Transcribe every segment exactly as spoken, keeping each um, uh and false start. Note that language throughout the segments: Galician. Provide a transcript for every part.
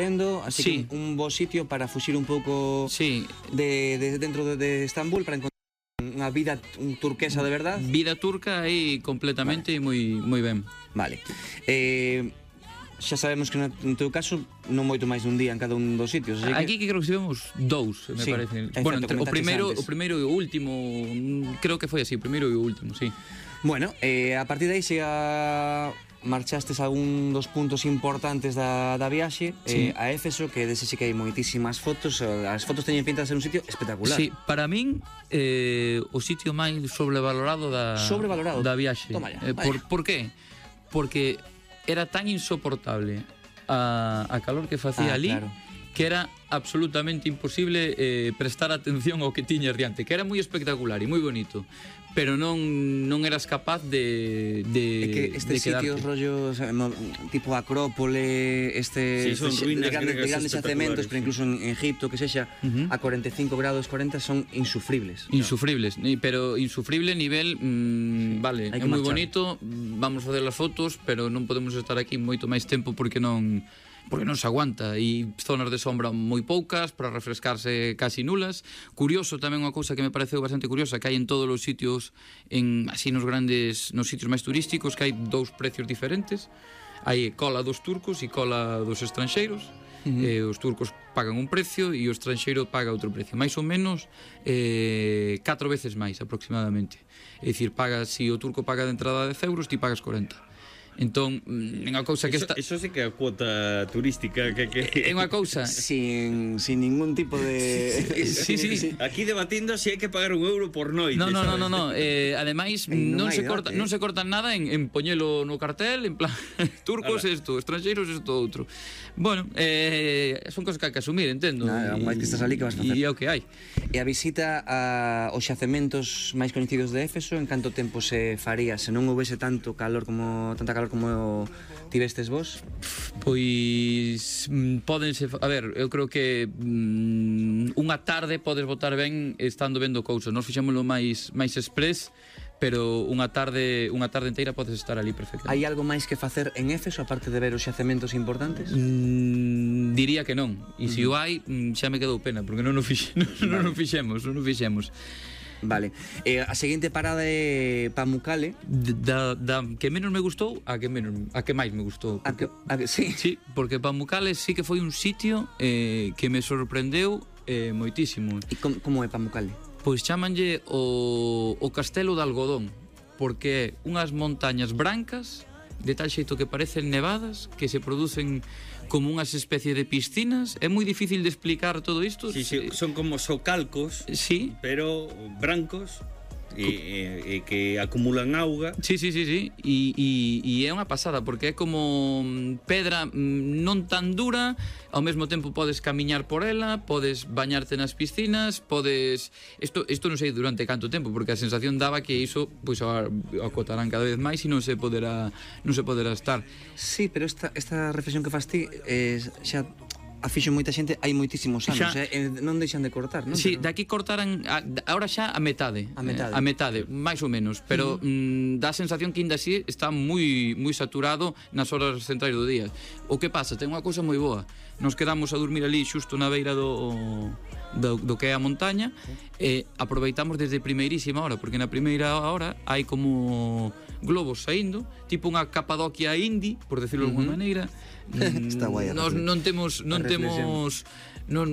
así Sí. que un bo sitio para fuxir un pouco Sí, de, de dentro de, de Estambul para encontrar unha vida un turquesa de verdad. vida turca aí completamente e moi moi ben. Vale. Eh, xa sabemos que no, no teu caso non moito máis dun día en cada un dos sitios, así Aquí que que creo que estivemos dous, me Sí, parece. é Bueno, certo, entre, o comentaches primeiro, antes. o primeiro e o último, mm, creo que foi así, o primeiro e o último, sí. bueno, eh, a partir de aí xa marchastes a un dos puntos importantes da, da viaxe, Sí. eh, a Éfeso, que dese sí que hai moitísimas fotos, as fotos teñen pinta de ser un sitio espectacular. Sí, para min eh, o sitio máis sobrevalorado da Sobrevalorado? da viaxe. Toma ya, eh, por, vaya. por qué? Porque era tan insoportable a, a calor que facía Ah, ali, claro. que era absolutamente imposible eh, prestar atención ao que tiñas diante, que era moi espectacular e moi bonito, pero non non eras capaz de de É que estes de quedarte. sitios rollos eh, mo- tipo Acrópole, este Sí, son este- ruínas de grandes, de griegas grandes yacementos, espectaculares, pero incluso en Egipto, que sexa, Ujú. a cuarenta e cinco grados cuarenta son insufribles. Insufribles, ni- pero insufrible nivel, mm, vale, Hai é que moi marchar. bonito, mm, vamos facer as fotos, pero non podemos estar aquí moito máis tempo porque non porque non se aguanta, e zonas de sombra moi poucas, para refrescarse casi nulas. Curioso tamén unha cousa que me pareceu bastante curiosa, que hai en todos os sitios, en así nos grandes, nos sitios máis turísticos, que hai dous precios diferentes. Hai cola dos turcos e cola dos estranxeiros. Uh-huh. eh, os turcos pagan un precio e o estranxeiro paga outro precio, máis ou menos eh, catro veces máis aproximadamente. É dicir, pagas, se o turco paga de entrada dez euros, ti pagas corenta. Entón, é unha cousa que Eso, está... eso sí que é a cuota turística que, que... É unha cousa... Sin, sin ningún tipo de... Sí, sí. Aquí debatindo se si hai que pagar un euro por noite. No, no, no, sabes? no, no. Eh, ademais, Ei, non non, hai se corta, debate, non eh. se cortan nada en, en poñelo no cartel, en plan, turcos Ala. isto, estranxeiros isto outro. Bueno, eh, son cosas que hai que asumir, entendo. Nada, E- máis que estás ali, que vas facer? E é o que hai. E a visita a, aos xacementos máis coñecidos de Éfeso, en canto tempo se faría se non houvese tanto calor como tanta calor como tivestes vos? Pois mm, pódense, a ver, eu creo que mm, unha tarde podes botar ben estando vendo cousas. Nós fixémoslo máis máis express, pero unha tarde unha tarde inteira podes estar ali perfectamente. Hai algo máis que facer en Éfeso aparte de ver os xacementos importantes? Mm, diría que non. E se o hai, mm, xa me quedou pena, porque non o fixe, non, non o fixemos, non o fixemos. Vale. Eh, a seguinte parada é Pamukkale. Da, da que menos me gustou a que menos a que máis me gustou. A que, a que, sí. Sí, porque Pamukkale sí que foi un sitio eh, que me sorprendeu eh, moitísimo. E com, como é Pamukkale? Pois chamanlle o, o Castelo de Algodón, porque é unhas montañas brancas de tal xeito que parecen nevadas, que se producen como unhas especies de piscinas. É moi difícil de explicar todo isto. Sí, sí, son como socalcos, Sí, pero brancos e, e, e que acumulan auga. sí, sí, sí, sí. E, e, e é unha pasada, porque é como mm, pedra mm, non tan dura, ao mesmo tempo podes camiñar por ela, podes bañarte nas piscinas, podes... Isto, isto non sei durante canto tempo, porque a sensación daba que iso pois, a- acotarán cada vez máis e non se poderá non se poderá estar. Sí, pero esta, esta reflexión que fas ti eh, xa a fixo moita xente hai moitísimos anos, Xa. eh, eh, non deixan de cortar, non? Sí, Pero- de aquí cortaran a, ahora xa a metade. A metade. Eh, a metade, máis ou menos, pero uh -huh. mm, dá a sensación que ainda así está moi moi saturado nas horas centrais do día. O que pasa, ten unha cousa moi boa. Nos quedamos a dormir ali xusto na beira do do, do que é a montaña e aproveitamos desde primeirísima hora, porque na primeira hora hai como globos saindo, tipo unha Capadocia indie, por decirlo de alguma maneira. Está guai a Nos reflexión. non temos non A reflexión. temos non,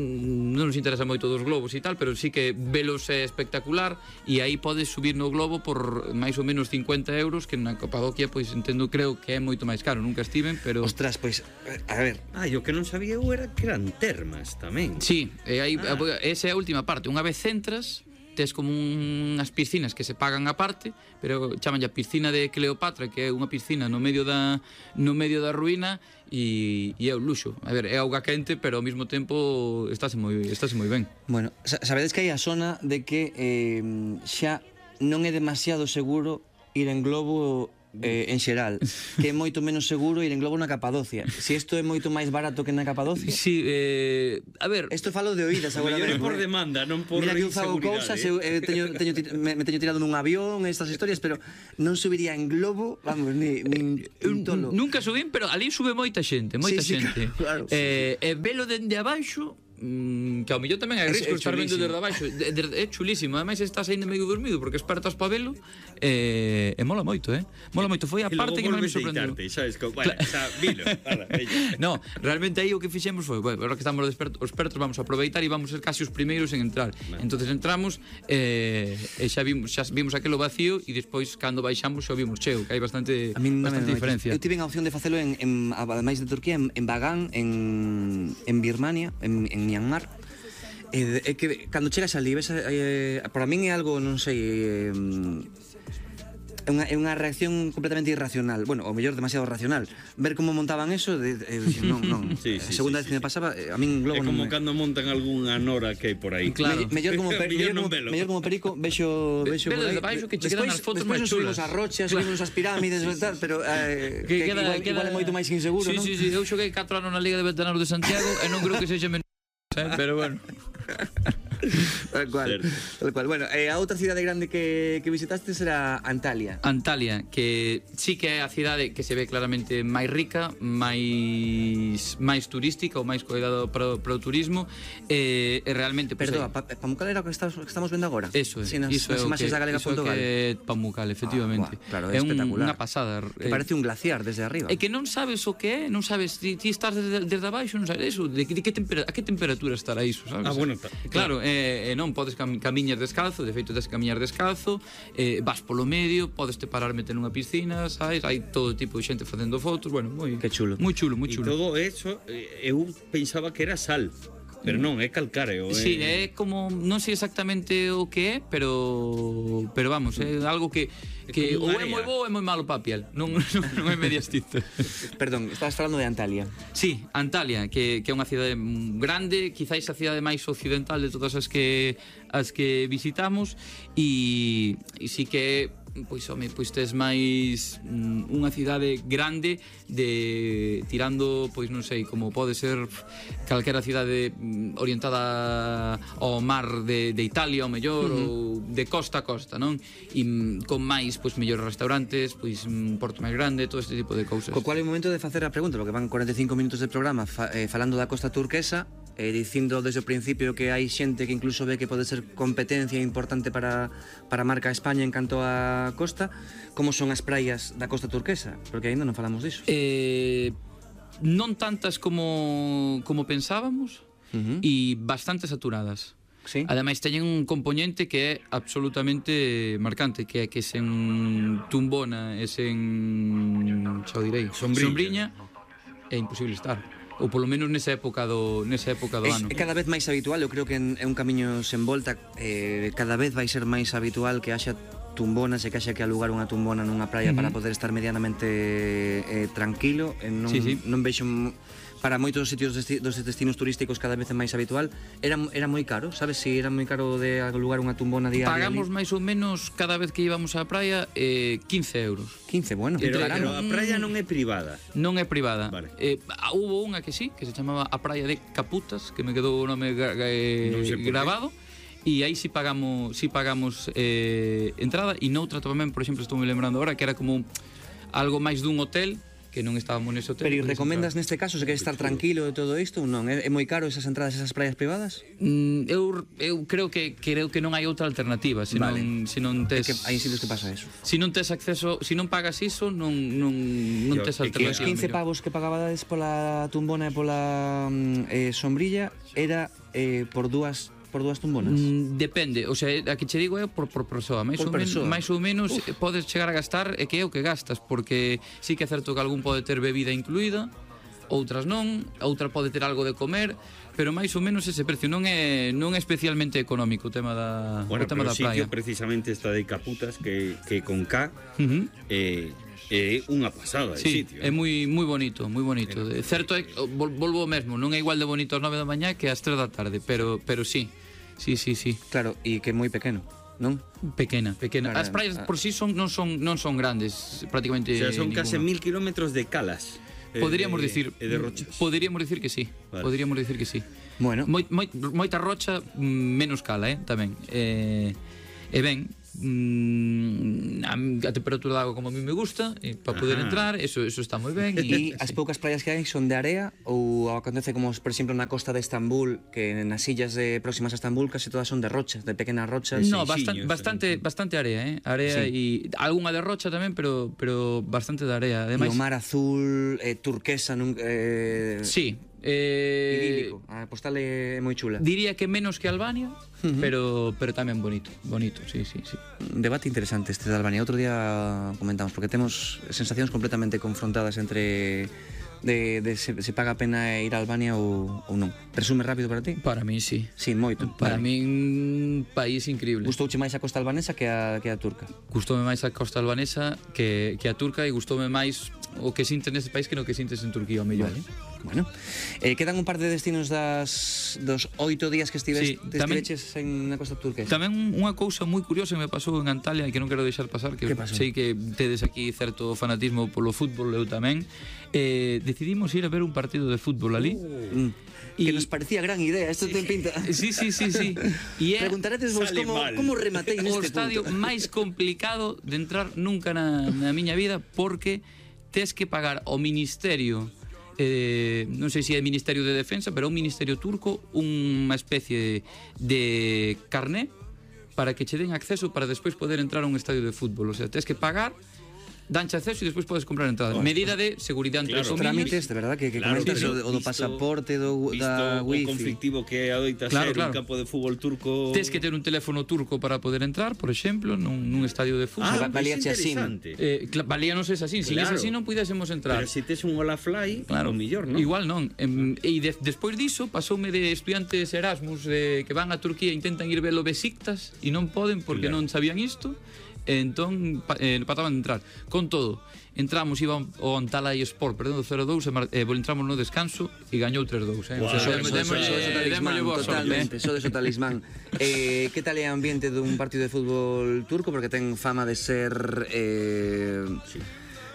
non nos interesa moito dos globos e tal, pero sí que velos é espectacular e aí podes subir no globo por máis ou menos cincuenta euros, que na Capadocia pois entendo, creo que é moito máis caro, nunca estiven, pero... Ostras, pois, eh, a ver, Ah, e o que non sabía eu era que eran termas tamén. Sí, e aí, Ah. esa é a última parte. Unha vez entras, tes como unhas piscinas que se pagan aparte, pero chamanlle a piscina de Cleopatra, que é unha piscina no medio da no medio da ruína e, e é un luxo. A ver, é auga quente, pero ao mesmo tempo estáse moi estáse moi ben. bueno, sa- sabedes que hai a zona de que eh, xa non é demasiado seguro ir en globo eh, en xeral, que é moito menos seguro ir en globo na Capadocia. Se isto é moito máis barato que na Capadocia. Sí, eh, a ver, Isto falo de oídas agora Mellor é mesmo. por eh. demanda, non por Mira que eu fago inseguridade. cousas, eu eh, teño, teño, tir- me, me teño tirado nun avión, estas historias, pero non subiría en globo, vamos, ni, ni un tolo. nunca subín, pero ali sube moita xente, moita Sí, sí, xente. claro, claro. Eh, e velo dende abaixo, mm, que ao mellor tamén hai É- risco é estar vendo chulísimo. desde abaixo. De, de, é chulísimo, ademais estás aí medio dormido porque espertas pa velo e, e mola moito, eh? Mola moito, foi a E logo parte que máis me volves a sorprendeu. deitarte, sabes? Co- Bueno, xa, vilo, ala, veña. No, realmente aí o que fixemos foi, bueno, agora que estamos despertos, os expertos vamos a aproveitar e vamos ser casi os primeiros en entrar. Entonces entramos eh, e xa vimos, xa vimos aquelo vacío e despois cando baixamos xa vimos cheo, que hai bastante A min non bastante me- diferencia. Eu tive a opción de facelo en, en ademais de Turquía, en, en Bagán, en, en Birmania, en, en Myanmar. E de- é que cando chegas ali ves, eh, para min é algo, non sei, eh, é unha, é unha reacción completamente irracional. Bueno, ou mellor demasiado racional. Ver como montaban eso, de, de, de, non, non. Sí, A sí, segunda sí, vez que sí, me pasaba, eh, a min É globo non como me... cando montan algunha nora que hai por aí. Claro. Me, mellor como, per, Mellor mellor, non como, velo. mellor como perico vexo, vexo Ve por desde aí. baixo que che quedan as fotos despois máis nos subimos chulas. as rochas, subimos as pirámides e tal, pero eh, que, que igual, igual é moito máis inseguro, sí, non? Sí, sí, eu xoguei catro anos na Liga de Veteranos de Santiago e non creo que sexa menos, eh, pero bueno. Tal cual, Certo. tal cual. Bueno, eh, a outra cidade grande que, que visitaste será Antalya. Antalya, que sí que é a cidade que se ve claramente máis rica, máis máis turística ou máis cuidado para, para o turismo e, e realmente pues, Perdón, aí- pa, Pamukkal era o que estamos, que estamos vendo agora? Eso é, Sí, nas, iso é nas o imaxes que, da Galega iso é punto que gal. é Pamukkal, efectivamente. Ah, buah, claro, é é un, espectacular. unha pasada. Que parece un glaciar desde arriba. É que non sabes o que é, non sabes, ti, ti estás desde, desde abaixo, non sabes eso, de, que- de que tempera, a que temperatura estará iso, sabes? Ah, bueno, ta- claro, e eh, non podes cam, camiñar descalzo, de feito des camiñar descalzo, eh, vas polo medio, podes te parar meter nunha piscina, sabes? Hai todo tipo de xente facendo fotos, bueno, moi Que chulo. moi chulo, moi E chulo. todo eso, eh, eu pensaba que era sal, pero non, é calcáreo. Sí, é... é como non sei exactamente o que é, pero pero vamos, é algo que que como ou unha é moi area. bo ou é moi malo para a piel. Non non, non é medias tintas. Perdón, estabas falando de Antalya. Sí, Antalya, que, que é unha cidade grande, quizáis a cidade máis occidental de todas as que as que visitamos e, e sí que pois home, pois tes máis mm, unha cidade grande de tirando, pois non sei, como pode ser calquera cidade mm, orientada ao mar de, de Italia ao mellor, uh-huh. ou de costa a costa, non? E mm, con máis, pois mellores restaurantes, pois un porto máis grande, todo este tipo de cousas. Co cual é o momento de facer a pregunta, porque van cuarenta e cinco minutos de programa fa, eh, falando da costa turquesa, eh, dicindo desde o principio que hai xente que incluso ve que pode ser competencia importante para, para a marca España en canto a costa. Como son as praias da costa turquesa? Porque aínda non falamos diso. Eh, non tantas como, como pensábamos Uh-huh. e bastante saturadas. Sí. Ademais teñen un componente que é absolutamente marcante, que é que sen tumbona e sen, xa o direi, Sombriña. sombriña é imposible estar. Ou polo menos nesa época do nesa época do É, ano. é cada vez máis habitual, eu creo que en- é un camiño sen volta, eh, cada vez vai ser máis habitual que haxa tumbonas e que haxa que alugar unha tumbona nunha praia Ujú. para poder estar medianamente eh, tranquilo, e non, Sí, sí. non vexo m- para moitos sitios desti, dos destinos turísticos cada vez é máis habitual. Era, era moi caro, sabes si era moi caro de alugar unha tumbona diaria? Pagamos ali? máis ou menos cada vez que íbamos á praia eh, quince euros. quince, bueno, Pero, entre pero verano. a praia non é privada. Non é privada. Vale. Eh, ah, hubo unha que sí, que se chamaba a praia de Caputas, que me quedou o nome gra- gra- eh, Non sei por qué. grabado. E aí sí pagamos, sí pagamos eh, entrada e noutra tamén, por exemplo, estou me lembrando agora que era como algo máis dun hotel, que non estábamos nese hotel. Pero e podes recomendas entrar. neste caso, se queres estar tranquilo de todo isto ou non? É, é moi caro esas entradas a esas praias privadas? Mm, eu, eu creo que creo que non hai outra alternativa, se Vale. non se non É tes que hai sitios que pasa eso. se non tes acceso, se non pagas iso, non non non Yo, tes é que Que os alternativa. quince mellor. pavos que pagabades pola tumbona e pola mm, eh, sombrilla era eh, por dúas por dúas tumbonas. Mm, depende, o sea, a que che digo é por, por persoa, máis Por ou, men, persoa. máis ou menos eh, podes chegar a gastar e que é o que gastas, porque sí que é certo que algún pode ter bebida incluída, outras non, outra pode ter algo de comer, pero máis ou menos ese precio non é non é especialmente económico o tema da Bueno, o tema pero da o sitio praia. precisamente está de Caputas, que, que con K Uh -huh. eh, é unha pasada de Sí, sitio. é moi moi bonito, moi bonito. De certo é vol, volvo ao mesmo, non é igual de bonito ás nove da mañá que ás tres da tarde, pero pero sí. Sí, sí, sí. Claro, e que é moi pequeno. non? Pequena, pequena. Para- As praias por si sí son non son non son grandes, prácticamente O sea, son ninguna. case mil kilómetros de calas. eh, Poderíamos de- dicir, E de rochas. poderíamos dicir que sí. Vale. Poderíamos dicir que sí. Bueno, Moi, moi, moita rocha, mm, menos cala, eh, tamén. Eh, e ben, mm, a, a temperatura da agua como a mí me gusta, e para poder Ajá. entrar, eso eso está moi ben. e E, as sí. poucas praias que hai son de area ou acontece como, por exemplo, na costa de Estambul, que nas illas de próximas a Estambul casi todas son de rochas, de pequenas rochas. No, Seixiños, bastante, bastante, bastante area, eh? Area e algunha de rocha tamén, pero pero bastante de area. E Ademais, o mar azul, eh, turquesa, nun, eh, sí. Eh, idílico. A postal é moi chula. diría que menos que Albania, pero pero tamén bonito, bonito, sí, sí, sí. Un debate interesante este de Albania. Outro día comentamos, porque temos sensacións completamente confrontadas entre de, de se, se paga a pena ir a Albania ou, ou non. Resume rápido para ti? Para mí sí. Sí, moito. Para Vale. mí un país increíble. Gustouche máis a costa albanesa que a, que a turca? Gustoume máis a costa albanesa que, que a turca e gustoume máis o que sintes nese país que no que sintes en Turquía, o mellor. Vale. Bueno, eh, quedan un par de destinos das, dos oito días que estives, Sí, te tamén- estiveches en na costa turquesa. Tamén unha cousa moi curiosa que me pasou en Antalya e que non quero deixar pasar, que Que pasou? sei que tedes aquí certo fanatismo polo fútbol, eu tamén. Eh, decidimos ir a ver un partido de fútbol ali. Mm. Y- Que nos parecía gran idea, esto ten pinta. Sí, sí, sí, sí. E é Preguntaretes vos Sale como, mal. como rematei o neste estadio punto. máis complicado de entrar nunca na, na miña vida, porque tes que pagar ao ministerio, eh, non sei se é Ministerio de Defensa, pero é un ministerio turco, unha especie de carné para que che den acceso para despois poder entrar a un estadio de fútbol. O sea, tes que pagar, danche acceso e despois podes comprar entradas. Medida de seguridade entre Claro, os homiños. Trámites, de verdad, que, que Claro, comentas pero o, do- o do visto- pasaporte, do, Visto da o wifi. conflictivo que adoita Claro, ser claro. un campo de fútbol turco. Tes que ter un teléfono turco para poder entrar, por exemplo, nun, nun estadio de fútbol. Ah, valía pois che así. interesante. Eh, cla- valía non ser así, sin Claro. es así non puidésemos entrar. Pero se tes un Olafly, Claro, o millor, non? Igual non. Em, e de, despois diso pasoume de estudiantes Erasmus eh, que van a Turquía e intentan ir ver o Besiktas e non poden porque Claro. non sabían isto. E entón pa, eh, pataban de entrar. Con todo, entramos, iba o Antalya Sport perdendo cero dous e mar, eh, entramos no descanso e gañou tres dous, eh. Guau, O sea, eso- demo- eso- démoslle- eso- eso talismán, démoslle boa sorte, totalmente, eh. eso de eso talismán. Eh, que tal é o ambiente dun partido de fútbol turco? Porque ten fama de ser eh, Sí.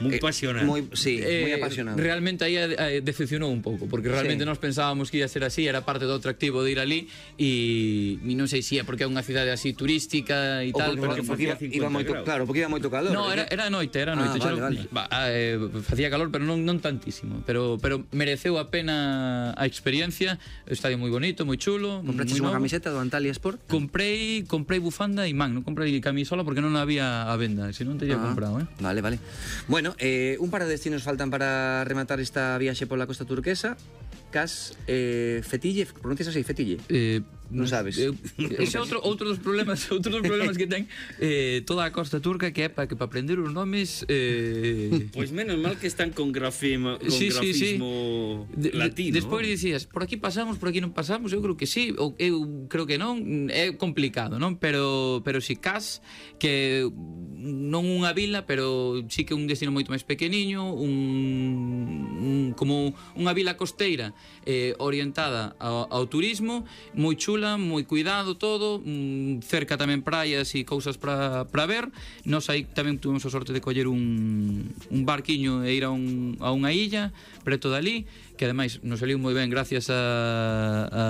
Moi eh, apasionante. moi, sí, Eh, moi apasionado. Realmente aí eh, decepcionou un pouco, porque realmente Sí. nós pensábamos que ia ser así, era parte do atractivo de ir ali e, e non sei se é porque é unha cidade así turística e Ou tal, porque, pero porque iba, facía iba cincuenta moito, graus. claro, porque iba moito calor. No, eh, era, era noite, era Ah, noite. vale, xa non- vale. Va, eh, facía calor, pero non, non tantísimo. Pero, pero mereceu a pena a experiencia. O estadio moi bonito, moi chulo. Compraches moi unha novo. camiseta do Antalya Sport? Comprei, comprei bufanda e man, non comprei camisola porque non había a venda, se non teria Ah, comprado, eh. Vale, vale. Bueno, eh, un par de destinos faltan para rematar esta viaxe pola costa turquesa. Cas eh, Fetille, pronuncias así, Fetille? Eh, Non sabes. Eu, ese é outro outro dos problemas, outro dos problemas que ten eh, toda a costa turca, que é para que para aprender os nomes eh Pois menos mal que están con grafismo, con Sí, sí, sí. grafismo De- de- latino. Despois dicías, por aquí pasamos, por aquí non pasamos, eu creo que sí, ou eu creo que non, é complicado, non? Pero pero si Cas, que non unha vila, pero sí que un destino moito máis pequeniño, un, un como unha vila costeira eh, orientada ao, ao turismo, moi chula, moi cuidado todo, mm, cerca tamén praias e cousas para para ver. Nós aí tamén tuvemos a sorte de coller un, un barquiño e ir a, un, a unha illa preto dali, que ademais nos saliu moi ben gracias a, a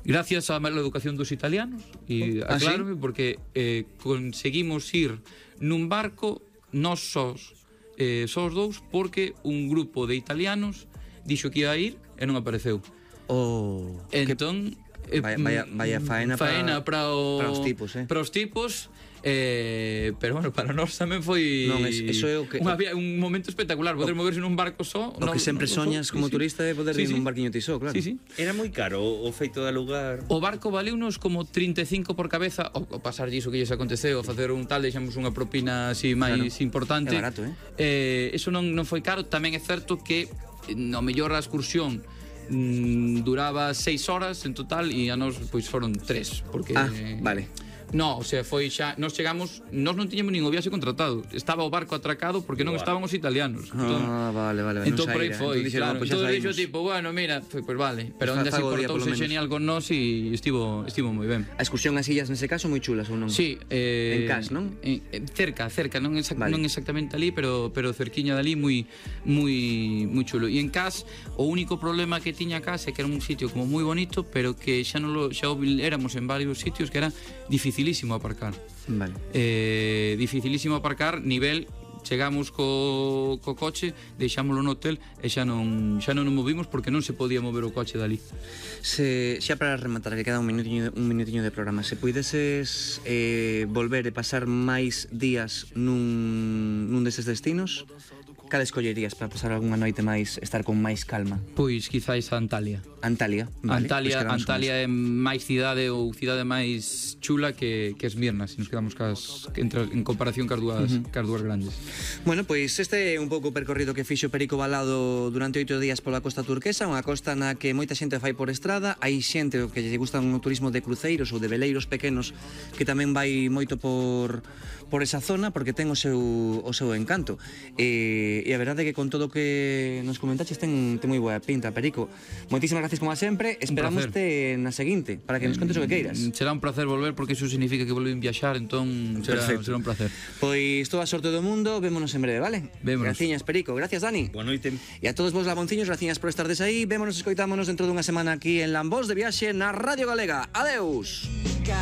gracias á mala educación dos italianos e Ah, sí? aclárome porque eh, conseguimos ir nun barco nós sós eh, sós dous porque un grupo de italianos dixo que iba a ir e non apareceu. Oh, Entón eh, Vaya- vaya- vaya faena pa- faena para, o, para os tipos, eh. para os tipos, eh, pero bueno, para nós tamén foi Non, es- eso é o que- unha via- un momento espectacular, poder moverse nun barco só. o que sempre soñas como turista é poder ir sí, sí. nun barquiño tisó, claro. Sí, sí. Era moi caro o feito da lugar. O barco valeunos como trinta e cinco por cabeza, o, o pasar diso que lles aconteceu, a facer un tal, deixamos unha propina así máis importante. É barato, eh? Eh, eso non, non foi caro, tamén é certo que eh, no mellor a excursión mm, duraba seis horas en total e a nos pois foron tres, porque Ah, vale. No, o sea, foi xa, nós chegamos, nós non tiñamos nin o viaxe contratado. Estaba o barco atracado porque non estaban os italianos. Ah, vale, vale, vale. Entón non por aí saíra. foi, Entón dixeron, claro. "Pois xa Entón dixo saímos". tipo, bueno, mira, foi, pois vale, pero Pois ainda así fago o día, polo portouse menos. genial con nós e estivo estivo moi ben. A excursión ás illas nese caso moi chulas ou non? Sí, eh, En Cas, non? En, en, cerca, cerca, non, exact, Vale. non exactamente ali, pero pero cerquiña dali moi moi moi chulo. E en Cas o único problema que tiña Cas é que era un sitio como moi bonito, pero que xa non lo, xa o éramos en varios sitios que era dificilísimo aparcar. Vale. Eh, dificilísimo aparcar, nivel chegamos co, co coche, deixámoslo no hotel e xa non xa non nos movimos porque non se podía mover o coche dali. Se, xa para rematar, que queda un minutiño, un minutiño de programa, se puideses eh, volver e pasar máis días nun, nun deses destinos, cal escollerías para pasar algunha noite máis, estar con máis calma? Pois quizáis a Antalya. Antalya, vale. Antalya, Pois quedamos con Antalya eso. é máis cidade ou cidade máis chula que, que Esmirna, se nos quedamos cas, entre, en comparación cas dúas, uh -huh. cas dúas grandes. Bueno, pois este é un pouco o percorrido que fixo Perico Balado durante oito días pola costa turquesa, unha costa na que moita xente fai por estrada, hai xente que lle gusta un turismo de cruceiros ou de veleiros pequenos que tamén vai moito por por esa zona porque ten o seu o seu encanto. E, e a verdade é que con todo o que nos comentaches ten, ten moi boa pinta, Perico. Moitísimas gracias como a sempre, esperamoste na seguinte para que nos contes o que queiras. Será un placer volver porque iso significa que volven viaxar, entón será, será un placer. Pois toda a sorte do mundo, vémonos en breve, vale? Vémonos. Graciñas, Perico, gracias, Dani. Boa noite. E a todos vos labonciños, graciñas por estardes aí. Vémonos e escoitámonos dentro dunha semana aquí en Lambos de Viaxe na Radio Galega. Adeus.